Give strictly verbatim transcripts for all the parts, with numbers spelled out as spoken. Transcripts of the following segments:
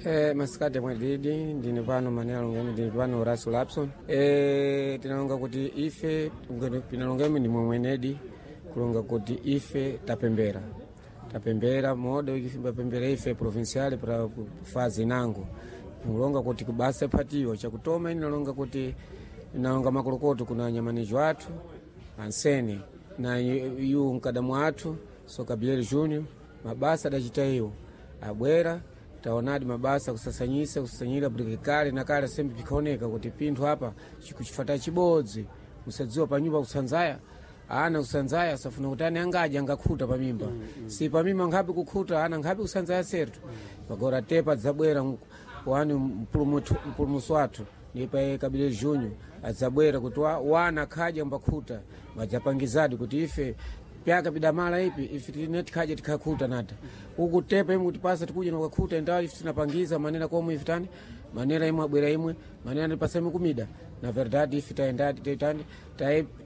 Eh, masikati mwadidi ndine pano manena longeni ndine pano Horacio Lapson. Eh, tinalonga kuti ife pinalongemi ndi momwenedi kulonga kuti ife tapembera tapembera moda wikipembera ife provincial para fazi nango kulonga kuti kubasa phatiwa chakutoma inalonga kuti inalonga makolokoto kuna nyamanijo athu ansene na yu mkadamu athu sokabiel junior mabasa adachita iwo abwera taonadi mabasa kusasanyisa kusasanyira kuti kale na kale sembe pikaoneka kuti pinthu apa chikuchifata chibodzi musadziwa panyumba kusanzaya ana kusanzaya asafuna kuti ane angadya angakhuta pamimba mm, mm. si pamimba nkhapi kukhuta ana nkhapi kusanzaya sertu pagora tepa dzabwera wani mpulumutsi wathu ndipa kabile junyo adzabwera kuti wa, wana khadya mbakhuta wadzapangizadi kuti ife pyaka pidamala ipi ife tine tikhaja tikakhuta nata uku tepa imwe kutipasa tikuja nokakhuta endawo ife tinapangiza manera komwe ife tani manera imwe abwera imwe manera ndipasa imwe kumida na verdade ife taendadi tani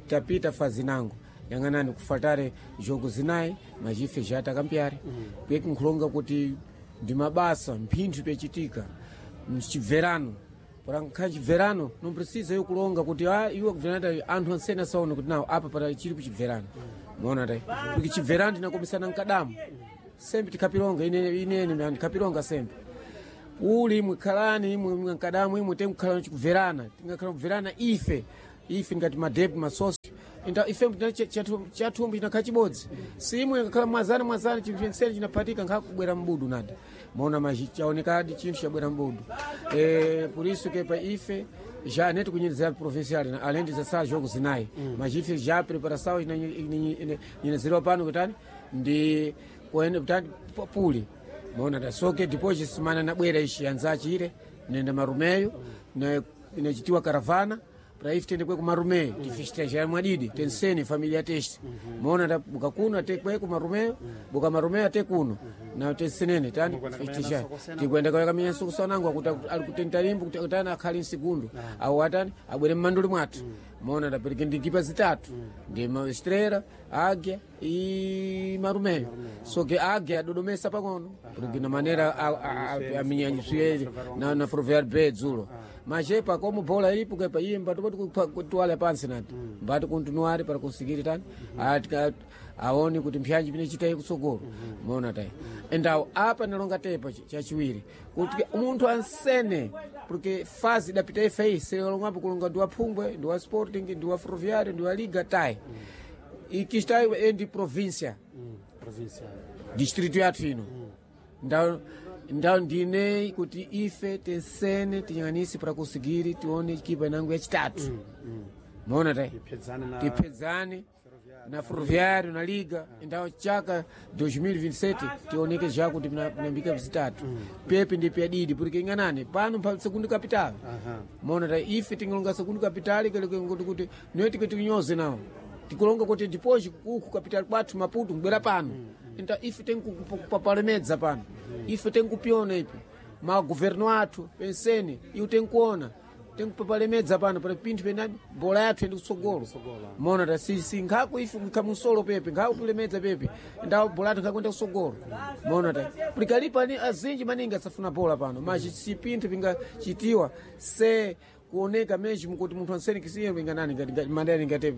tapita fazinango yang'anani kufatare jogo zinayi machife jatakambyare mm. pekunkhulonga kuti ndi mabasa mphinthu pechitika mchibverano porankha chibverano não precisa eu kulonga kuti ah iwe kubverana anthu ansene asaone kuti nawo apa para chili kuchibverano muona tai porque chibverano tinakomisana mkadamu sembe tikhapilonga ine inene ndikhapilonga sembe uli imwe khalani imwe imwe mkadamu imwe temkhala chikubverana tingakhala kubverana ife ife ngati madepi masosi inda ife chathumbu chinakhala chibodzi si imwe ngakhala mwazana mwazana chimphensene chinaphatika nkhakubwera mbudu nada mona machi chaonekadi chinthu chabwera mbudu e, por isso que pa ife já nem kunyenezera provincial além de dezesseis jogos zinayi mm. mas ife já preparação inyenezerewa pano kutani ndi kuene kutani puli mona da soke depois semana nabwera ishi anzachire nenda marumeyo na inachitiwa caravana para ife tende kwe kumarumeyo mm. tifestejar mwadidi mm. tensene familia teste mm -hmm. mona da buka kuno ate kwe kumarumeyo mm. buka marumeyo ate kuno mm -hmm. na tensenene tani festejar tikwenda kwa kamenya sokusanango akuti alikutenta limbo kuti atani akhali msegundo au atani abwere mmanduli mwathu mona da pereke ndikipa zitatu ndi ma Estrela Águia e Marumeyo so que Águia adodomesa pang'ono porque na maneira aminyanyiswe na na Ferroviário B dzulo mas epa como bola ilipo kepa iye mbati kuti pansi nati mbati continuare para conseguir tani atika aone kuti mpyanji pine chitayi kutsogolo mona tai endawo apa nalonga tepa chachiwiri kuti munthu ansene porque fazi idapita ife iyi selongapo kulonga ndi wa Phumbwe ndi wa Sporting ndi wa Ferroviário ndi wa Liga tai ikistayi endi província província distrito yathu ino ndawo ndawo ndine kuti ife tensene tinyang'anise para conseguir tione ekipa inango yachitatu mona tai Tiphedzane na tiphedzane na Ferroviário na Liga ndawo chaka dois mil e vinte e sete tioneke já kuti pinambika zitatu pepe ndi pyadidi porque ing'anani pano pa segundo capital mona ta ife tingalonga segundo capital kuti kuti niwe tike tinyoze nawo tikulonga kuti depois uku capital kwathu Maputo kubwera pano então ife tenkupapalemedza pano ife tenkupiona ipi magoverno athu penseni iwo tenkuona tenkupapalemedza pano para pinthu penani bola yathu ende kutsogolo mona ta sisi nkhako ife khamusolo pepe nkhako kulemedza pepe ndawo bola yathu nkhakuenda kutsogolo mona ta pulikalipa ni azinji maningi asafuna bola pano mas si pinthu pingachitiwa se kuoneka mesmo kuti munthu ansene kisiye inganani ngati mandani ngati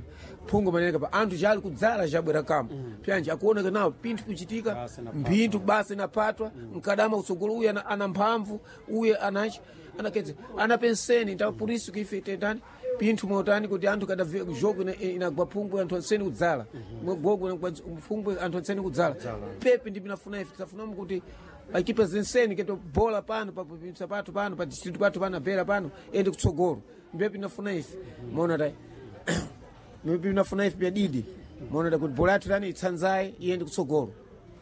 phungu manene pa anthu jali kudzala jabwera kamba pyanji akuoneka nawo pinthu kuchitika Basi napatwa. mpinthu basi napatwa mkadama kutsogolo uye ana, ana mphamvu uye anachi anakedze ana penseni nta purisu kife tendani pinthu motani kuti anthu kada jogo ina- inagwa phungu anthu ansene kudzala gogo inagwa phungu anthu ansene kudzala pepe ndi pinafuna ife tisafunamu kuti ekipa zenseni keto bola pano pa província pathu pano pa distrito pathu pano abera pano ende kutsogolo ndiye pinafuna ife mona ta ndiye pinafuna ife pyadidi mona ta kuti bola yathu tani itsanzaye iyende kutsogolo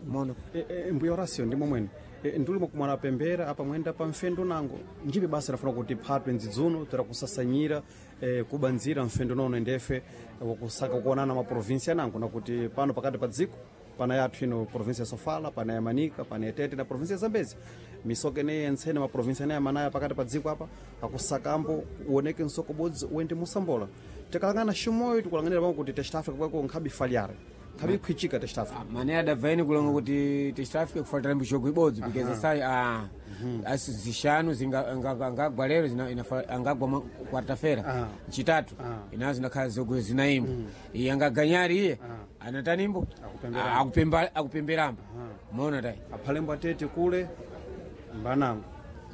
mona E, e, mbuya Horacio ndi momwene e, ndulimo kumwana pembera apa mwenda pa mfendo nango njibe basa lafuna kuti phatwe ndzidzuno tera kusasanyira e, kubanzira mfendo nono ndefe wakusaka kuonana maprovinsia nango nakuti pano pakati pa dziko pana yathu ino provinsia ya Sofala pana ya Manika pana ya Tete na provinsia ya Zambezi misoka ineyi yentsene maprovinsia eneyi amanaya pakati pa dziko apa akusakambo uoneke msoko bodzi uende musambola tikalangana ximoyo tikulanganira pamwe kuti Test Africa kwako nkhabi falhar nkhabi khwichika Test Africa mane adabvaini kulonga kuti tistafike kufuatira mbichogo ibodzi because sai ah Asi zishanu zinga- anga- angagwa lero zina- inafa- angagwa mwa- quarta-feira Ah. chitatu Ah. inazo zinakhala zogwe zinaimbo iye angaganyari iye anatanimbo Akupemberamba. akupemba akupemberamba mona tai aphalembo atete kule mbanango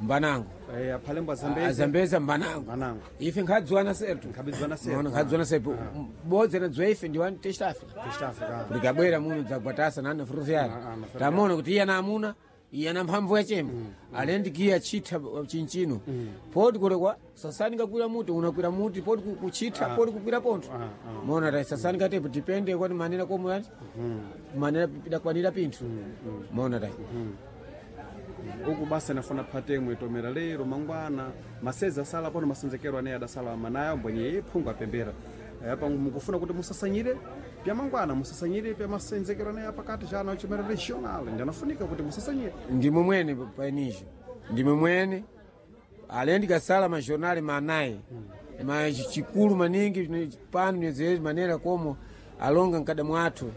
mbanango Eh, aphalembo azambeza azambeza mbanango mbanango ife nkhadziwana sertu Nkhabidziwana sertu. Mona, nkhadziwana sertu bodzi nadziwa ife ndi wani test Africa East Africa kuti kabwera muno dzagwatasa nana fruvyali Ah, ah, na tamona kuti iye ana amuna iye ana mphamvu yachemba alendi kiya chitha chinchino poti kuti kwa sasani kakwira muti unakwira muti poti ku- kuchitha poti kukwira pontho Ah, ah. mona ta sasani katepo tipende kwani manera komwe ati manera pidakwanira pinthu mona ta uku basi anafuna phatemwe tomera lero mangwana maseza asala pano masenzekero ane adasala manayo mbwenye iphungu apembera Eh, apa mukufuna kuti musasanyire pya mangwana musasanyire pya masenzekero ane apakati chana chomera regional ndi anafunika kuti musasanyire ndimwe mwene painicho ndimwe mwene alendi kasala majornali manayi ma chikulu maningi ni- pano nezezi manera komo alonga mkada mwathu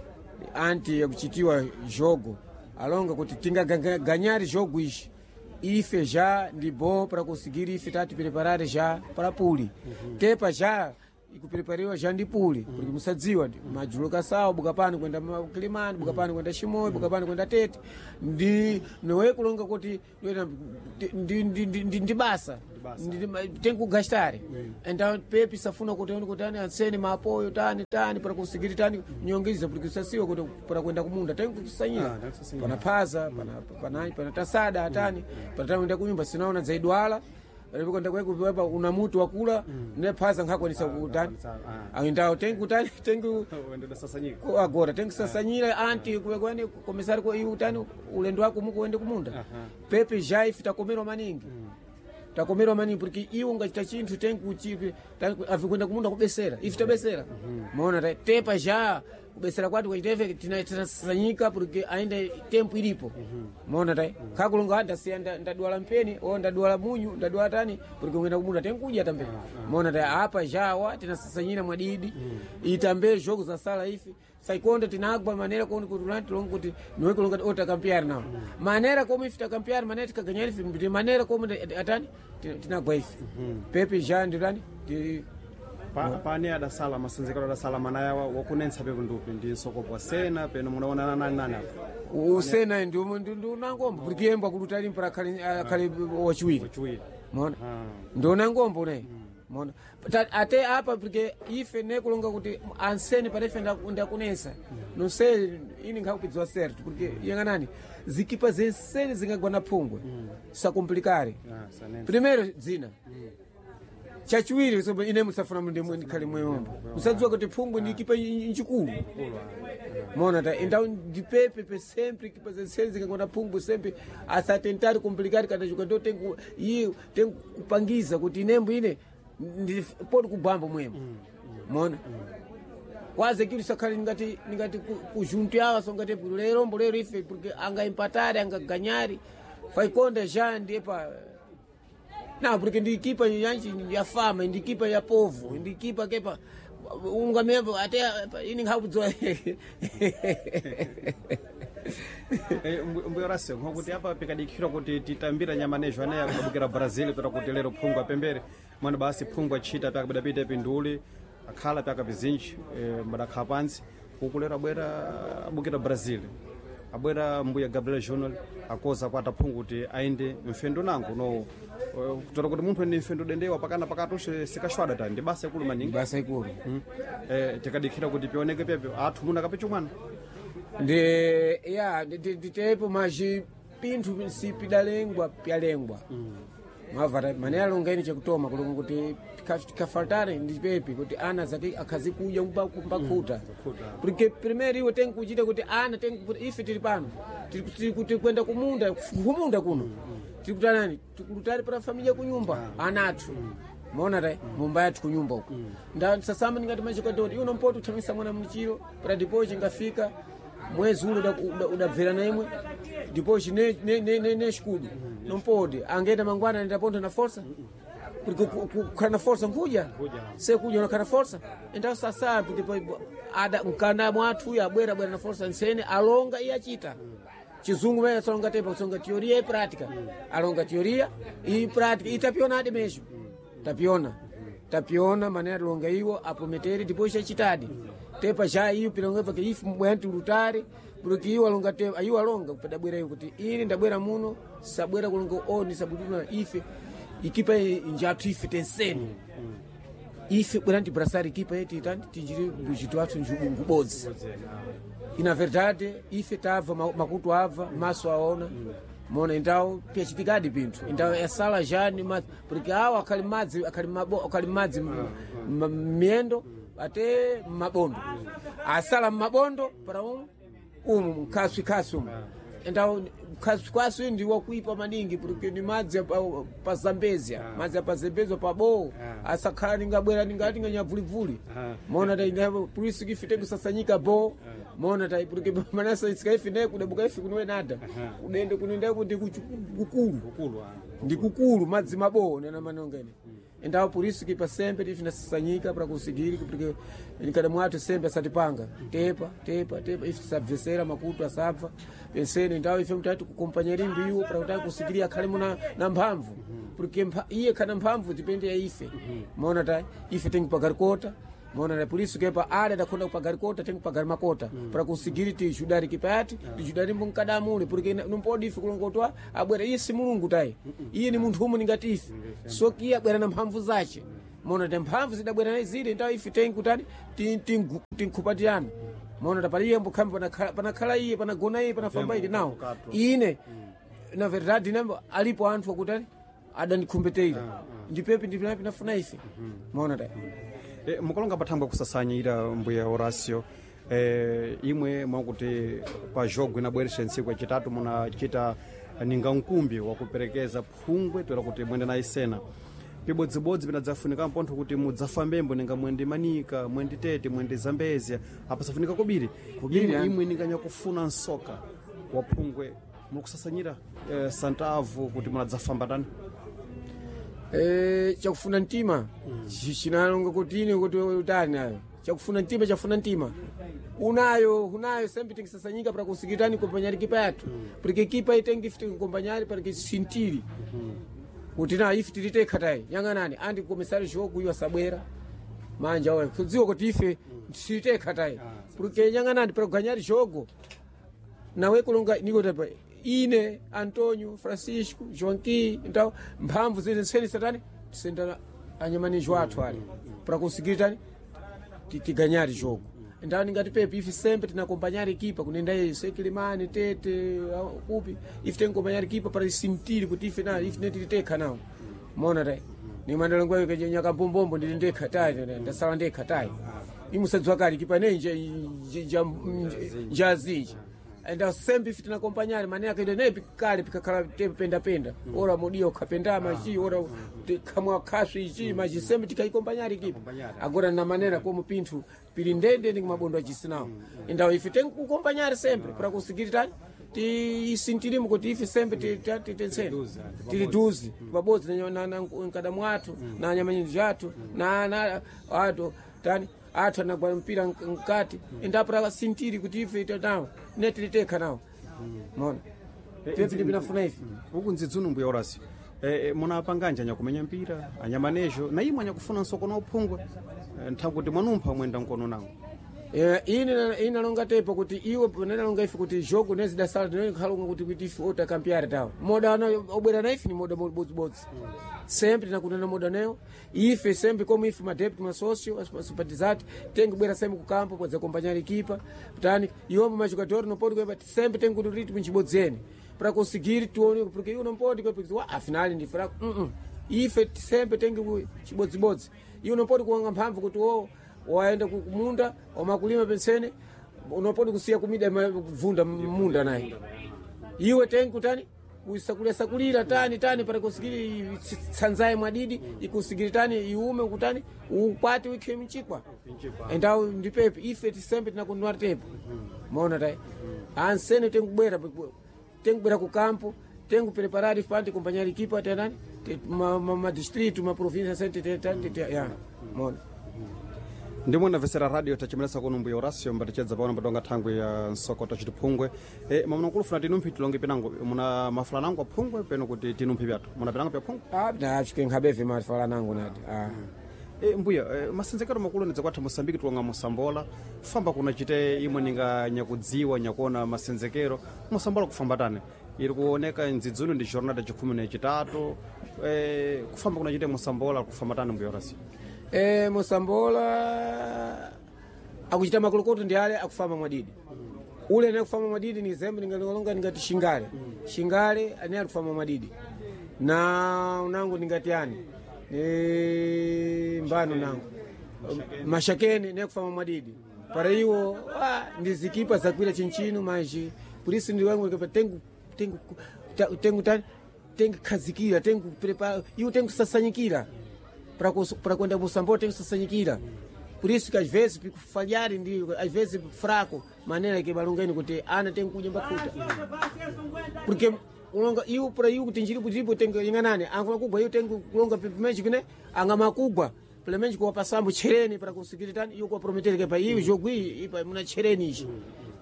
anti yakuchitiwa jogo alonga kuti tingaganyari jogo ishi ife já ndi bom para conseguir ife tati preparare já para puli tepa já ikuprepariwa já ndi puli porque musadziwa ndi madzulo kasawa buka pano kwenda ma- kilimani buka pano kwenda chimoyo buka pano kwenda tete ndi nowe kulonga kuti ndiwena- ndi, ndi, ndi, ndi, ndi basa basa. Ndi- ndi- tenkugastare então pepi safuna kuti oni kuti ani ansene maapoyo tani tani para conseguir tani nyongeza porque usasiwa kuti para kwenda kumunda Ah, tenkusanyira tenkusanyira. pana phaza pana pana pana tasada atani pana tani kwenda kunyumba sinaona zaidwala kwenda kwekupa una muti wakula ne phaza nkhakwanisa kutani nkhakwanisa, ah. aindawo tenkutani tenku ndidasasanyika ku- agora tenkusasanyira anti kuwekwani komisari ko iwe utani ulendo wako muku uende kumunda pepe jaife takomerwa maningi takomerwa maningi porque iwe ungachita chinthu tenkuchipi avikwenda kumunda kubesera ife tabesera maona ta- tepa ja kubesera kwati kwachitefe tinasanyika porque ainda tempo ilipo maona tai khakulonga ndasiya nda- ndadwala mpeni o ndadwala munyu ndadwala tani porque ungenda kumunda tenkudya tambe maona tai apa jawa tinasasanyira mwadidi itambe jogo zasala ife saikonda tinagwa manera koni kuti ulani tilonga kuti niwe kulonga ti otakampiari nawo manera komu ife takampiari manera tikaganyari ife ndi manera komu ndi- atani ti- tinagwa ife pepe ja nditani ti Pa, pane adasala masenzekero adasala manayawa wakunensa pepo ndupi ndi nsokopo sena peno munaonana nani nani apa usena ndi ndi unangombo porque yembo akuluta limpo akhale akhale wachiwiri wachiwiri mona Ah. ndiona ngombo ne mona Ta- ate apa porque ife nekulonga kuti ansene panefe ndaku- ndakunesa não sei ini nkhakupidziwa certo porque yang'anani zikipa zensene zingagwa na phungwe sakomplikare Ah, sanensa. primeiro dzina chachiwiri so ine musafuna mundu imwe ndikhale mweyombo musadziwa kuti phungwe ndi ikipa njikulu mona ta então ndipepe pe sempre ikipa zensene zingagwa phungwe sempre asatentari komplikari kana chuka ndo tenku iye tenkupangiza kuti inembo ine ndi poti kubwambo mwemo mona kwaze kitu sakhale ngati ngati kujuntu yawa so ngati lero mbo lero ife porque anga empatari anga ganyari faikonda já ndiye pa não porque ndi equipa yanchi ya fama ndi equipa ya povo ndi equipa kepa ungamembo até ini nkhakudziwa Eh, mbu- mbuyo rase nkokuti apa pikadikhira kuti titambira nyamanejo ane akabukira brazil pera kuti lero phungu apembere mwana basi phungu achita pyakabidapita pinduli akhala pyakapizinji eh, mbadakhala pantsi uku lero abwera abukira brazil abwera mbuya gabriel journal akoza kwata phungu kuti aende mfendo nangu no eh, kutora kuti munthu ene mfendo dendewa pakana pakati ushe sikashwada ta ndi basa ikulu maningi basa ikulu Mm. Eh, tikadikhira kuti pioneke pyapyo athu muna kapichumwana ndi ya nditepo maji pinthu sipidalengwa pyalengwa mavata mane alonga ine chakutoma kulonga kuti tikafaltare ndi pepi kuti ana zake akhazikudya kumbakhuta khuta. porque primeiro iwe tenkuchita kuti ana tenku ife tili pano tiri tiri kuti kwenda kumunda kumunda kuno tiri kutanani tikulutali para familia kunyumba ana athu maona ta mumba yathu kunyumba uko nda sasamba ndingati machikadoti iwe nompoti uthamisa mwana mchiro para depois chingafika mwezi ulo udabvera na imwe depois ne ne ne ne, ne xikudu nompodi angenda mangwana anaenda na força porque ku- ku- kukhala na força nkuja Nkuja. sekuja unakhala na força então sasa porque depois ada mkana mwathu uyu abwera abwera na força nsene alonga iye achita Chizungu mene solonga tepa kusonga teoria e prática. Alonga teoria e prática. E tapiona adi mesmo. Tapiona. Tapiona mané alonga iwo aprometeri depois chachitadi. Tepa já iyo pilonga porque ifu mbwanti lutari porque iwo alonga te ayo alonga pedabwera iyo kuti ini ndabwera muno sabwera kulonga oni sabuduna ife ikipa njatu ife tenseni ife bweranti brasari ikipa yeti itani tinjiri bujitu athu ngubodzi ina verdade ife tabva ma- makutu abva maso aona mona então pyachitikadi pinthu então esala jani ma, porque awo akhali madzi akhali mabo akhali madzi m- m- miyendo ate mabondo asala mmabondo para umu umu mkhaswi khaswi umu então khaswi khaswi ndi wakuipa maningi porque ni madzi apa- pa zambezia madzi apa zambezia pa bowo asakhala ningabwera ningati nganyavulivuli mona ta ina polisi kifi kusasanyika bo mona ta porque manasa isikaifi ne kudabuka ifi kunowe nada kudende kunenda kuti kukulu Kukulu ah. ndi kukulu madzi mabowo nena manongene endawo polisi kipa sembe tifi nasasanyika para kusigiri porque nkada mwathu sembe asatipanga tepa tepa tepa ife tisabvesera makutu asabva penseni ndawo ife mtati kukompanyeri mbiwo para kuti kusigiria akhale muna na mphamvu porque mpha- iye khana mphamvu dipende ya ife mona ta ife tingipagarikota mona na polisi kepa ada dakhonda kupagarikota tingipagar makota para kusigiri tijudari kipayati tijudari mbunkadamule porque numpodi ife kulongotwa abwera iye si mulungu tayi iye ni munthu umwe ningati ife so iye abwera na mphamvu zace mona ta mphamvu zidabwera naye zile ndawo ife tinkutani tinkhupatirana mona ta pali iye mbukhambi panakhala panakhala iye panagona iye panafamba iye nawo ine na verdade nambo alipo anthu akutani adandikhumbeteira ndipepi ndipinapi nafuna ife mona ta E, mukalonga pathangwe kusasanyira mbuya Horacio e, imwe mwakuti pa jogo inabweresha ntsiku yacitatu munachita ninga nkumbi wakuperekeza phungwe toera kuti mwende na isena pibodzibodzi pinadzafunika mpontho kuti mudzafambembo ninga mwende manika mwende tete mwende zambezia apasafunika kobiri Kobiri, imwe, yani. imwe ninganyakufuna nsoka wa phungwe mukusasanyira e, santavu kuti munadzafamba tani Eh, chakufuna mtima Chi- chinalonga kuti ine kuti utani nayo chakufuna mtima chafuna mtima unayo unayo sembe tingisasanyika para kusikitani kompanyari kipa yathu porque kipa itengi ifite kompanyari para sintiri kuti na ife tilitekha tayi yang'anani andi komisari jogo iwo asabwera manja awa kudziwa kuti ife silitekha tayi porque yang'anani para kuganyari jogo nawe kulonga nikotapa ine antonio francisco joanqui então mphamvu zili nseni satani tisenda anyamanijo athu ali para conseguir tani ti- tiganyari jogo então ningati pepe ife sempre tinakompanyari equipa kunenda sekilimani tete au kupi ife tinkompanyari equipa para sentir kuti ife na ife netitekha nawo mona tai nimandalongwa nyakabombombo ndili ndekha tayi ndasala ndekha tayi imusadziwa kali kipa nenje njazinji enda sembe ife tinakompanyari mane akaenda naye kale pikakhala penda penda ora mudiyo khapenda machi ora kamwa khaswi ichi machi sembe tikaikompanyari kipa agora na manera como pinthu pili ndende ndi mabondo achisinawo endawo ife tenkukompanyari sempre para conseguir tani tiisintirimu kuti ife sembe titensene tili duzi pabodzi nkada mwathu na nyamanyinji athu na na athu tani athu anagwa mpira mkati endapra sintiri kuti ife nawo ne tilitekha nawo mona pepi ndipinafuna ife uku nzidzunu mbuya Horacio e, e, munapanganja anyakumenya mpira anyamanejo na imwe anyakufuna nsoko na uphungwe e, nthawi kuti mwanumpha mwenda nkono nawo Eh, ine ine nalonga tepo kuti iwe nalonga ife kuti jogo nezidasala tinokhalonga kuti kuti ife otakampiari tawo moda ana obwera na ife ni moda bodzibodzi sempre tinakundana moda nayo ife sempre como ife madepti masócio simpatizati tengibwera sempre kukampo podzakompanyari equipa tani iwombo majogador não pode kuemba sempre tem kuti ritmo nchibodzene para conseguir tione porque iwo não pode porque wa afinal ndi fraco uh -uh. ife sempre tengi chibodzibodzi iwo não pode kuwanga mphamvu kuti wo waenda kumunda omakulima pensene unopodi kusiya kumida kuvunda munda naye iwe tengi kutani kusakulira sakulira tani tani para kusigiri tsanzaye mwadidi ikusigiri tani iume kutani ukwati wikhe mchikwa endawo ndipepe ife tisembe tinakunwa tepo mona tai ansene tengubwera tengubwera ku kampo tengupreparari pante kumpanyari kipa tenani ma, ma, ma distrito ma província sente te, te, te, ya mona Ndimwe ndamvetsera radio tachimelesa kuno mbuya Horacio mbatichedza paona mbatonga thangwe ya nsokota chitiphungwe e, mamunakulufuna tinumphi tilonge pinango muna mafula nango aphungwe peno kuti tinumphi pyathu muna pinango pya phungwe. Ah, na nkhabefe mafala nangu nati ah. E, mbuya e, masenzekero makulu ndidza kwathu Mosambiki tilonga mosambola famba kuna chite imwe ninga nyakudziwa nyakuona masenzekero mosambola kufamba tani iri kuoneka ndzidzuni ndi jornada chikhumi na chitatu e, kufamba kuna chite mosambola kufamba tani mbuya Horacio? E, mosambola akuchita makulukuto ndi ale akufamba mwadidi ule ane akufamba mwadidi ni zembe ningalonga ningati shingale shingale ane akufamba mwadidi na unangu ningati ani ni mbano nangu mashakeni ne kufamba mwadidi para iwo ah, ndizikipa zakwira chinchino manji polisi ndi wangu ngepa tengu tengu ta- tengu tani tengu khazikira tengu prepa iwo tengu sasanyikira para kus- para kwenda musambo tengu sasanyikira por isso que às vezes fico falhar ndi às vezes fraco maneira que balungeni kuti ana tengu kudya mbakuta porque ulonga iwo para iwo kuti njiri kujipo tengu inganani angula kugwa iwo tengu kulonga pimenji kune anga makugwa pelemenji kuwa pasambo chereni para kusikiri tani iwo kuwa prometere ke pa iwo jogwi ipa muna chereni ichi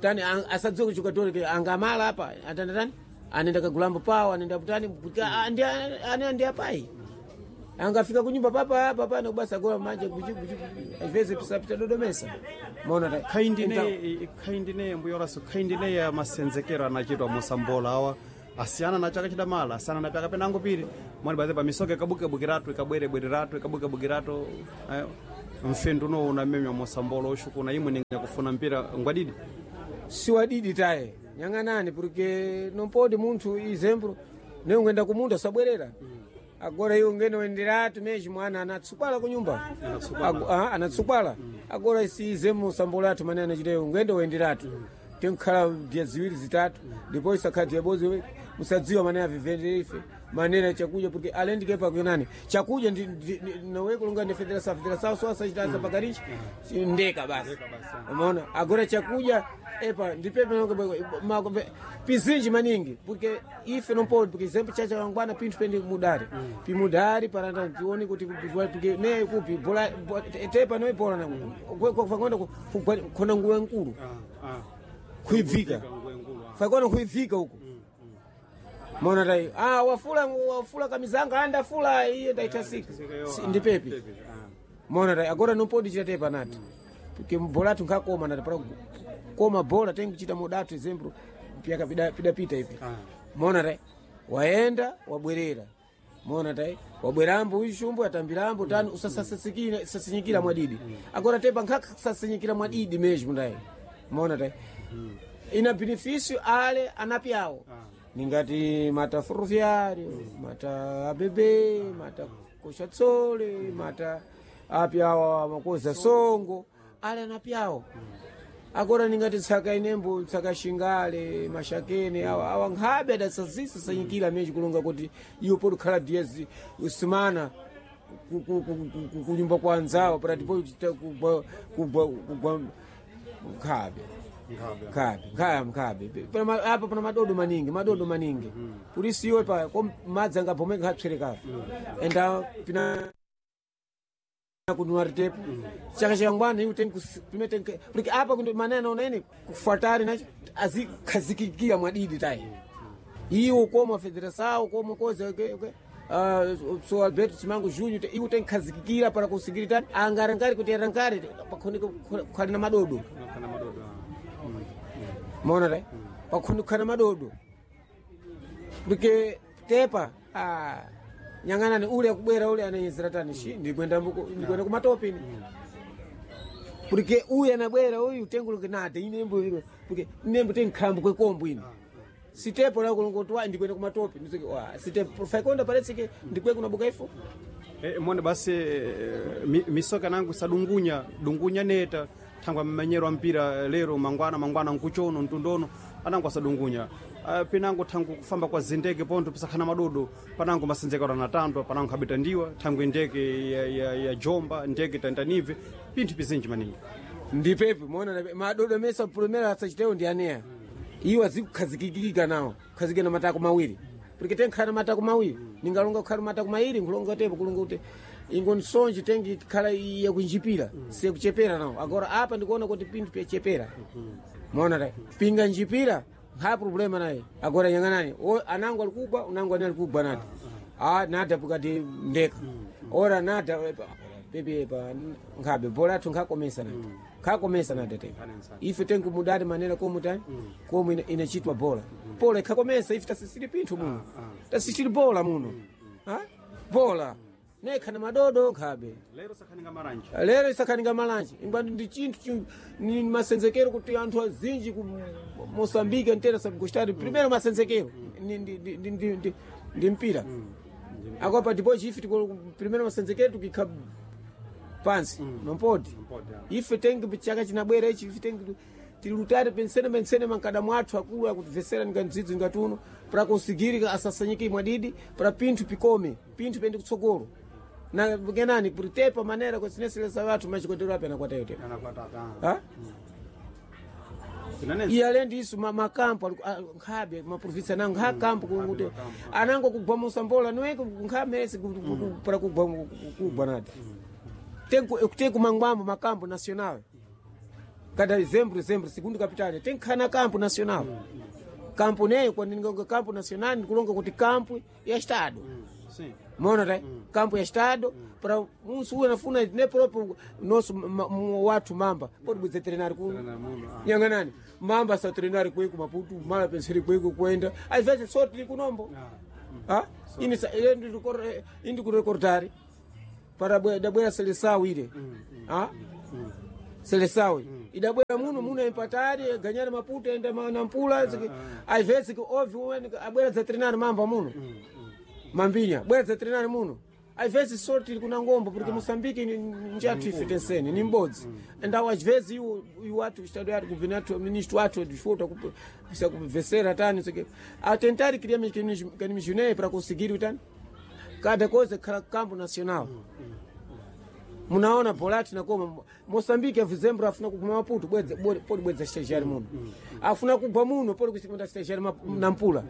tani ang- asadziwe kuchukatore ke angamala apa atanda tani anenda kagulambo pawo anenda kutani kuti andi ane ndi apai angafika kunyumba papa apa pana kubasa gola manje kuchi kuchi às vezes pisa dodomesa mona ta khaindine khaindine mbuya Horacio khaindine ya masenzekero anachitwa mosambola awa asiyana na chaka chidamala asiyana na pyaka penango pili mwani baze pamisoka ikabukabukiratu ikabwerebwereratu ikabukabukiratu eh, mfendu uno unamemya mosambola ushu kuna imwe ninga kufuna mpira ngwadidi siwadidi taye nyang'anani porque não pode munthu exemplo ne ungenda kumunda sabwerera agora iwe ungene wenderatu mesmo mwana anatsukwala kunyumba Anatsukwala. Agu- ah, anatsukwala agora isi izemu sambolatu mane anachiteyo ungende wenderatu tinkhala dia ziwiri zitatu ndipo isakhala dia bozi musadziwa mane avivendere ife manena chakudya porque além de que pa kunani chakudya ndi ndi- ndi- nowe kulunga ndi federação federação só asachita pakarichi ndeka basi umeona agora chakudya epa ndipepe pizinji maningi porque ife não pode porque exemplo chacha wangwana pinthu pende mudari pimudari paranda tione kuti porque ne kupi bola bo- tepa no bola na kwakwenda khona nguwe nkulu kuibvika fakona kuibvika huko mona tai ah wafula wafula kamizanga anda fula iye ndaitasika Si- ndipepi mona tai agora não pode chita tepa nati porque bola tunkakoma nati para koma bola tengu chita modatu exemplo pyaka pida pida pita ipi mona tai waenda wabwerera mona tai wabwerambo uishumbu atambirambo tani usasasikira sasinyikira mwadidi agora tepa nkhakasasinyikira mwadidi mesmo ndai mona tai ina benefício ale anapi awo ningati mata ferroviário mata abb mata koxatsole mata api awa makoza songo ale anapi awo agora ningati tsaka inembo tsaka xingale mashakene awa awa nkhabe adasazisasanyikira meji kulonga kuti iwo podikhala dias usimana ku- ku- ku- ku- ku- kunyumba kwa anzawo para tipo kugwa kugwa kugwa nkhabe nkhabe nkhaya mkhabe Pana ma- apa pana madodo maningi madodo maningi polisi iwe pa ko madzi angabomeka nkhatswerekapo enda pina kunuaritepo chaka changwana iwe tengu pime tengu porque apa kundo maneno nene kufatari nacho azikhazikikia mwadidi tai iwo koma federação como coisa okay, okay. Uh, so Alberto Simango Júnior iwo tenkhazikikira para conseguir tani angarangari kuti arangari pakhoni khali na madodo mona tai pakhoni khali na madodo porque tepa ah, nyang'anani ule akubwera ule ananyezera tani shi ndikwenda mbuku- ndikwenda kumatopini porque uyu anabwera uyu tenguluke nate inembo ilo porque nembo tenkhambo kwekombo ino sitepo la kulongoti wa ndikwenda kumatopi ndisike wa sitepo faikonda parece que ndikwe kunabuka ifo E, mone basi eh, mi, misoka nangu sadungunya dungunya neta thangwa mmanyero a mpira lero mangwana mangwana nkuchono mtundono anangu asadungunya uh, pinango thangu kufamba kwa zindeke pontho pisakhana madodo panango masenzekero anatandwa panango khabita ndiwa thangwe ndeke ya, ya, ya jomba ndeke tantanive pinthu pizinji maningi ndipepi mona madodo mesa primeiro asachitewo ndi aneya iwo azikukhazikikika nawo kukhazikika na matako mawiri Porque tenkhana matako mawiri ningalonga kukhala matako mairi nkulonga tepo kulonga kuti ingo nsonji tengi khala yakunjipira sekuchepera nawo agora apa ndikuona kuti pinthu pyachepera mona ta pinga njipira nkha problema naye agora yang'anani o anango alikugwa unango ani alikugwa nati ah nada pukati ndeka ora nada pepe pa nkhabe bola athu nkhakomesa nati nkhakomesa nati tepo ife tengu mudati manera komu tani komu ina- inachitwa bola bola ikhakomesa ife tasisiri pinthu muno tasisiri bola muno ha bola nekha na madodo nkhabe lero sakhaninga maranje lero isakhaninga malanje ingwani ndi chinthu chi- ni masenzekero kuti anthu azinji ku moçambique ntera sabgostari primeiro masenzekero ni- ndi- ndi- ndi- ndi- ndi- ndi mpira akopa depois ife tiko primeiro masenzekero tukikha pansi nompodi Mpodi, ah. ife tengi chaka chinabwera ichi ife tengi tilutare pensene pensene mankada mwathu akulu akutivesera ngandzidzo ngatuno para conseguir asasanyike mwadidi para pinthu pikome pinthu pende kutsogolo na kenani kuti tepa manera kwesineselesa wathu machikotero ape anakwatayo tepa anakwatata ah. ha Tinanenso iye alendi isu ma- makampo ali- a- nkhabe maprovinsi anango nkha kampo kuti anango kugwa musambola niweke nkhamese para kugwa kugwa nati tenku mangwambo makampo national kada zembro zembro segundo capital tenkhana kampo national kampo neyo kwaninga kampo national ndikulonga kuti kampo ya estado sim mona ta kampo ya estado para musu uwe nafuna ne próprio nosso ma- mu- wathu mamba pode bwidze treinar kuno Treinar muno, ah. nyanganani mamba sa treinar kweko maputu mala penseri kweko kwenda às vezes só tili kunombo ah. ah ini sa eh, ndi rikor- eh, indi kurekordari para bwe- dabwera seleção ile ah seleção idabwera muno muno empatari ganyana maputo enda ma- na mpula ziki- às vezes que houve um abwera za treinar mamba muno mambinya bwera za treinar muno às vezes sorte ili kuna ngombo porque Moçambique ni njatu ife tensene ni mbodzi ndawo às vezes iwo iwo atu estado yatu governo atu ministro atu desfruta kusa kuvesera tani sike a tentar criar mecanismos para conseguir utani cada coisa khala campo nacional munaona bolati nakoma moçambique avizembro afuna kuguma maputo bwedza bode- pode bwedza estagiário muno afuna kugwa muno pode kuchikonda estagiário ma- nampula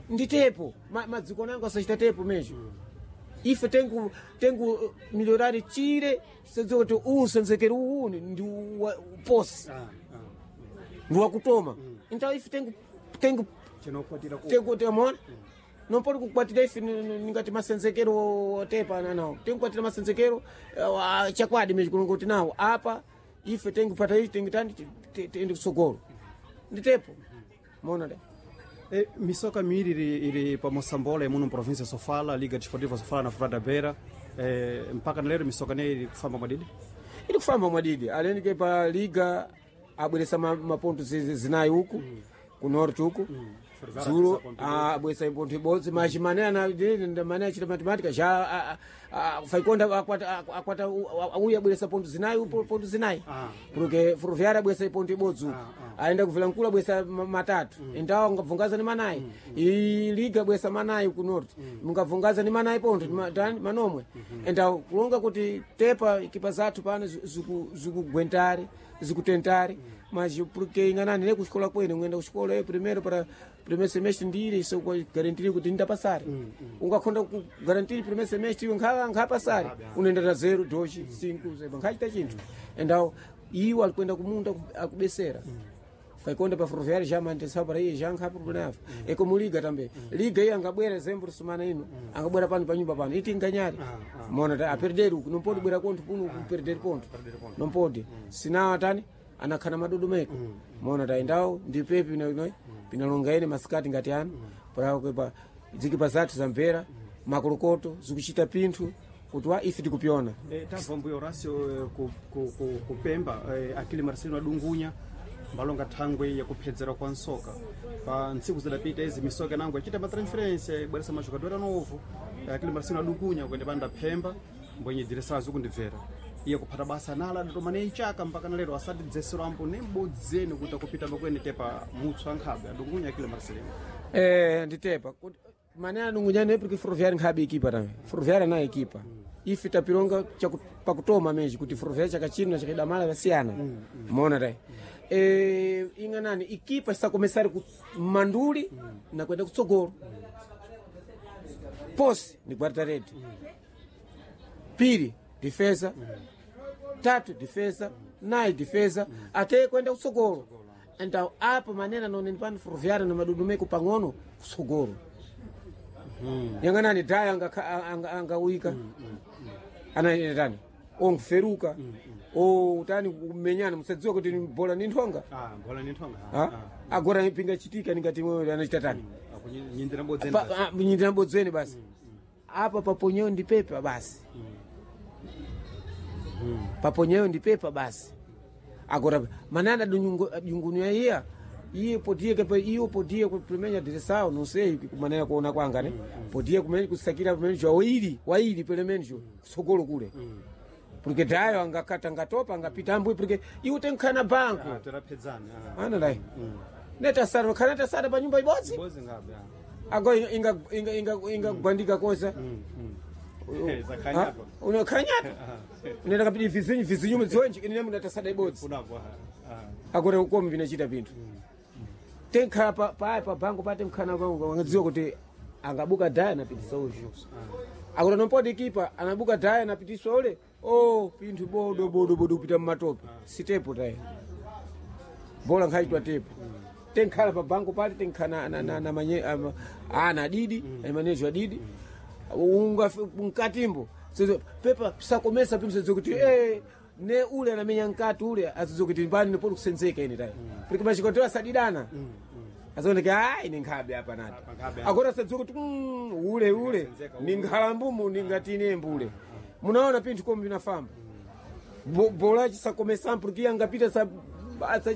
nditepo ma- madziko nango asachita tepo mesmo ife tengu tengu eh, melhorar chire senze kuti uwu senzekeri uwu ndi wa- posi Ah, ah. ndi wakutoma então ife tengu tengu chinokwatira ku tengu temona não pode kukwatira ife ningati masenzekero otepa nawo tengukwatira masenzekero eh, ah, chakwadi mesmo kulongoti nawo apa ife tengupata ichi tengitani tende kusogolo nditepo mona de E, misoka miiri iri, iri pa Moçambola muno província Sofala, Liga Desportiva Sofala na Furada Beira. E, mpaka na lero misoka ne iri kufamba mwadidi ili kufamba mwadidi aleni ke pa liga abweresa ma- maponto zi- zinayi uku ku norte uku dzulo abweresa iponto ibodzi machi mane ana mane achita matematika ja a- a- a- faikonda akwata akwata uyu abweresa ponto zinayi upo ponto zinayi Ah. porque ferroviária abweresa iponto ibodzi uku Ah, aenda kuvilankulu abweresa ma- matatu endawo angabvungaza ni manayi i liga abweresa manayi ku norte mungabvungaza ni manayi ponto ni ma- tani manomwe endawo kulonga kuti tepa ikipa zathu pano zi- ziku- zikugwentari zikutentari mas porque inganani ne kuxikola kwene ngenda kuxikola eh, primeiro para primeiro semestre ndire isso garantiri kuti ndapasari ungakhonda kugarantiri primeiro semestre iwe nkha nkhapasari unoenda na zero dois cinco seba nkhachita chinthu endawo iwo alikwenda kumunda ku- akubesera kaikonda pa ferroviário já mantesao para iye já nkha problema afa e como liga também liga iye angabwera zembro semana ino angabwera pano pa nyumba pano iti nganyari mona ta aperder uku não pode bwera konto kuno kuperder ponto não pode sinao atani anakhana madodomeko mona ta endawo ndi pepi ino pinalonga ine masikati ngati ano para kupa zikipa zathu zamvera makolokoto zikuchita pinthu kuti wa ife tikupiona e, tabva mbuya Horácio eh, ku, ku, ku, kupemba e, akili Marcelino adungunya mbalonga thangwe yakuphedzera kwa nsoka pa ntsiku zidapita izi misoka nango achita matransferência ibweresa majogador anovo Eh, akili Marcelino adungunya kuende panda phemba mbwenye direção azikundibvera iye kuphata basa nala adatoma ne ichaka mpaka na lero asati dzesero ambo ne mbodzeni kuti akupita pakwene tepa mutsu ankhabe adungunya akili Marcelino Eh, nditepa Kuti- mane anungunyana porque ferroviário nkhabe equipa também ferroviário na equipa ife tapilonga chaku- pakutoma mesmo kuti ferroviário chakachino na chakidamala vasiyana mona tai eh, ing'anani equipa está começar ku manduli na kwenda kutsogolo Posi ni guarda-rede, pili defesa, tatu defesa, nayi defesa, ate kwenda kutsogolo. Então apo manena noneni pano Ferroviária na madudumeko pang'ono kutsogolo. Yang'anani daya angawika anaitani onkuferuka otani kumenyana musadziwa kuti ni bola ni nthonga. Ah, bola ni nthonga. Ha? Agora pinga chitika ningati mwewe anachita tani Nyindira mbodzeni. Pa- ah, nyindira mbodzeni basi apa paponyewo ndi pepa basi paponyewo ndi pepa basi agora manana dungunya iya iye potiye kepa iyo potiye kupemenya direção não sei kumanena kuona kwanga ne potiye kumene kusakira pamene waili waili pelemenjo kusogolo kule porque dayo angakata angatopa angapita ambwe porque iwo tenkhana banko Ah, terapedzana. Ah. ana dai netasara khana tasara pa nyumba ibodzi Mbozi ngabe. ah. ago inga inga inga inga gwandika kosa Eh, zakhanyapo. unakhanyapo unaenda kapita vizinyu vizinyu mudziwenji ine munatasada ibodzi Kunapo. Ah. agora ukomi vinachita pinthu tenkhala pa pa pa bango pate mkhana wangadziwa kuti angabuka daya anapitisa uyu akuti anompoti kipa anabuka daya anapitiswa ule o pinthu bodo bodo bodo kupita mmatope sitepo tayi bola nkhachitwa tepo tenkhala pa bango pale tenkhala na, na, na, manye, ama, ana adidi mm. manejo adidi unga mkatimbo Sizo- pepa sakomesa pinthu sedzo kuti eh ne ule anamenya mkati ule azidzo kuti mbani nipoli kusenzeka ine tayi porque machikotewa asadidana azaoneka ah ine nkhabe apa nati Apa nkhabe apa. agora sadziwa kuti mm, ule ule Senzeka ni nkhalambumu ningati ine mbule munaona pinthu komi vinafamba Bo- bola chisakomesa porque angapita sa, sa